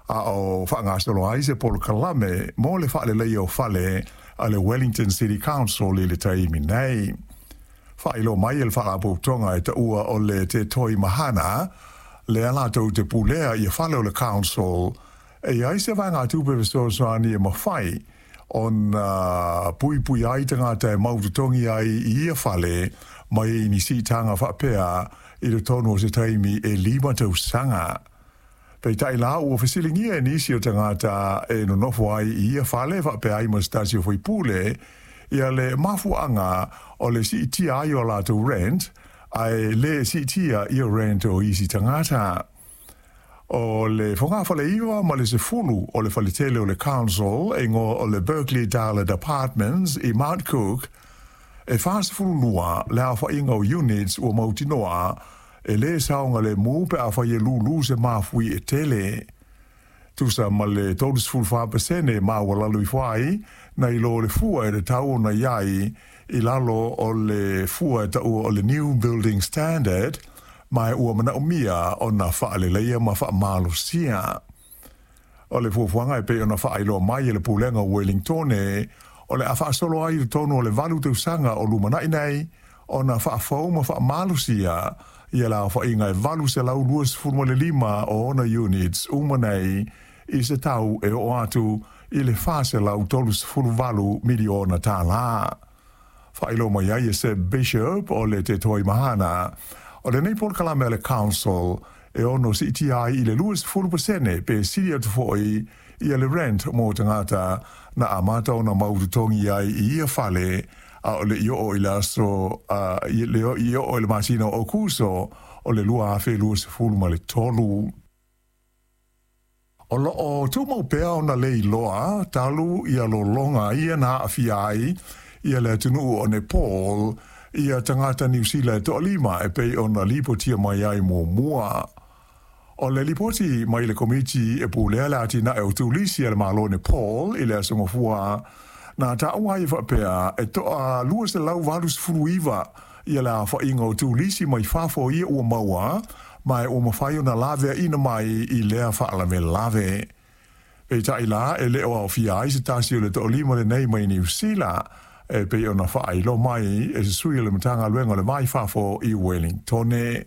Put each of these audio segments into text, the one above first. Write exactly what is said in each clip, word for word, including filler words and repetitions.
A o faagasolo ai se polokalame mo le faaleleia o fale a le Wellington City Council i le taimi nei. Faailoa mai e le faalapotopotoga e taua o le Te Toi Mahana, lea latou te pulea ia fale o le Council, e i ai se vaegatupe fesoasoani e mafai ona puipui ai tagata e mautotogi ai i ia fale mai ni siitaga faapea i totonu o se taimi e lima tausaga. Peitai la ua fesiligia e nisi o tagata e nonofo ai i ia fale faapea ai ma se tasi o faipule ia le mafuaaga o le siitia ai o latou rent ae le siitia ia rent o isi tagata. O le fogafale iva ma le sefulu o le faletele o le Council e igoa o le Berkeley Darlet Apartments i Mount Cook, e fasefululua le aofaiga o units ua mautinoa e lē saogalemu pe afai e lūlū se mafui e tele. Tusa ma le tolusefulo fa pasene maualalo ifo ai nai lo le fua e tatau ona i ai i lalo o le fua e taua o le New Building Standard, ma ua manaomia ona faaleleia ma faamalosia. O le fuafuaga e pei ona faailoa mai e le Pulega o Wellingtone, o le a faasolo ai i totonu o le valu tausaga o lumanai nei ona faafou ma faamalosia ia le aofaiga e valu selau luasefulu ma le lima o ona units uma nei i se tau e oo atu i le fa selau tolusefulu valu miliona tālā. Faailoa mai ai e Seb Bishop o le Te Toi Mahana, o lenei polokalame a le Council e ono siitia ai i le luasefulu pasene pe sili atu foi ia le rent mo tagata na amata ona mautotogi ai i ia fale a o le i oo i le aso i le i oo i le masina o Aokuso o le lua afe luasefulu ma le tolu. O loo tumau pea ona le iloa talu ia lologa ia na aafia ai ia le atunuu o Nepal ia tagata Niu Sila e toalima e pei ona lipotia mai ai muamua. O le lipoti mai le Komiti e pulea le atinae o Turisi a le Malo o Nepal i le Aso Gafua na taua ai e faapea e toa lua selau valu sefulu iva ia le aofaiga o turisi mai fafo ia ua maua ma e ua mafai ona laveaina mai i lea faalavelave. Peitai la e le o aofia ai se tasi o le toalima lenei mai Niu Sila e pei ona faailoa mai e se sui o le Matagaluega o le Va i Fafo i Wellingtone.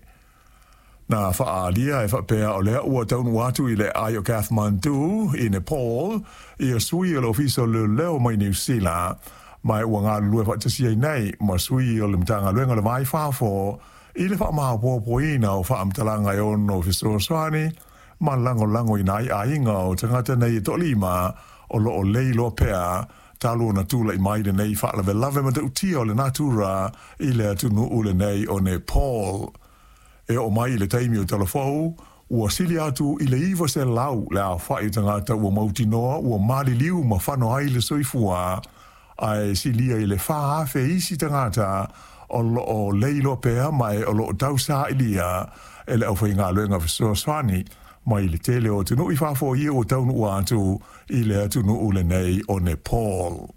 Na faaalia e faapea o lea ua taunuu atu i le aai o Kathmandu i Nepal ia sui o le Ofisa o Leoleo mai Niu Sila, ma ua galulue faatasi ai nei ma sui o le Matagaluega o le Va i Fafo i le faamaopoopoina o faamatalaga e ono fesoasoani ma lagolagoina ai aiga o tagata nei e toalima o loo le iloa pea talu ona tulai mai lenei faalavelave matautia o le natura i le atunuu lenei o Nepal. E oo mai i le taimi o Talafou, ua sili atu i le iva selau le aofai o tagata ua mautinoa ua maliliu ma fano ai le soifua, ae silia i le fa afe isi tagata o loo le iloa pea ma e o loo tausaailia e le aufaigaluega fesoasoani mai le tele o atunuu i fafo ia ua taunuu atu i le atunuu lenei o Nepal.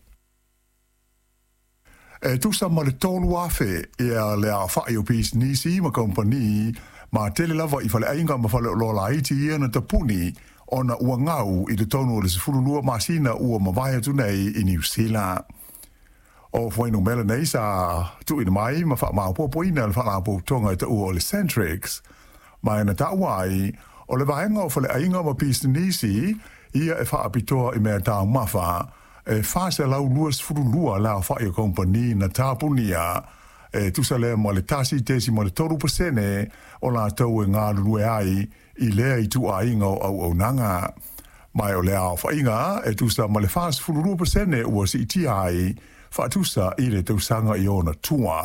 E tusa ma le tolu afe ia le aofai o pisinisi ma kamupani ma tele lava i faleaiga ma faleoloa laiti ia na tapuni ona ua gau i totonu o le sefululua masina ua mavae atu nei i Niu Sila. O fuainumera nei sa tuuina mai ma faamaopoopoina e le Faalapotopotoga e taua o le Centrix, ma na taua ai o le vaega o faleaiga ma pisinisi ia e faapitoa i mea taumafa e fa selau luasefululua le aofai o kamupani na tapunia e tusa lea ma le tasi tesima le tolu pasene o latou e galulue ai i lea ituaiga o auaunaga. Ma o le aofaiga e tusa ma le fasefululua pasene ua siitia ai faatusa i le tausaga i ona tua.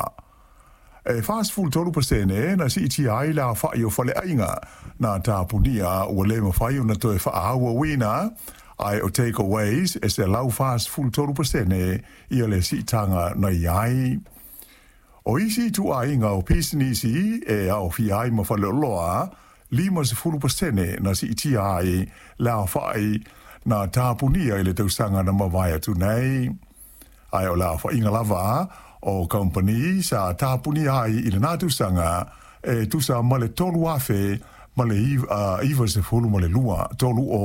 E fasefulu tolu pasene na siitia ai le aofai o faleaiga na tapunia ua le mafai ona toe faaauauina, ae o takeaways e selau fasefulu tolu pasene ia le siitaga na i ai. O isi ituaiga o pisinisi e aofia ai ma faleoloa, limasefulu pasene na siitia ai le aofai na tapunia i le tausaga na mavae atu nei. Ae o le aofaiga lava o kamupani sa tapunia ai i lena tausaga e tusa ma le tolu afe ma le iva sefulu ma le lua, tolu o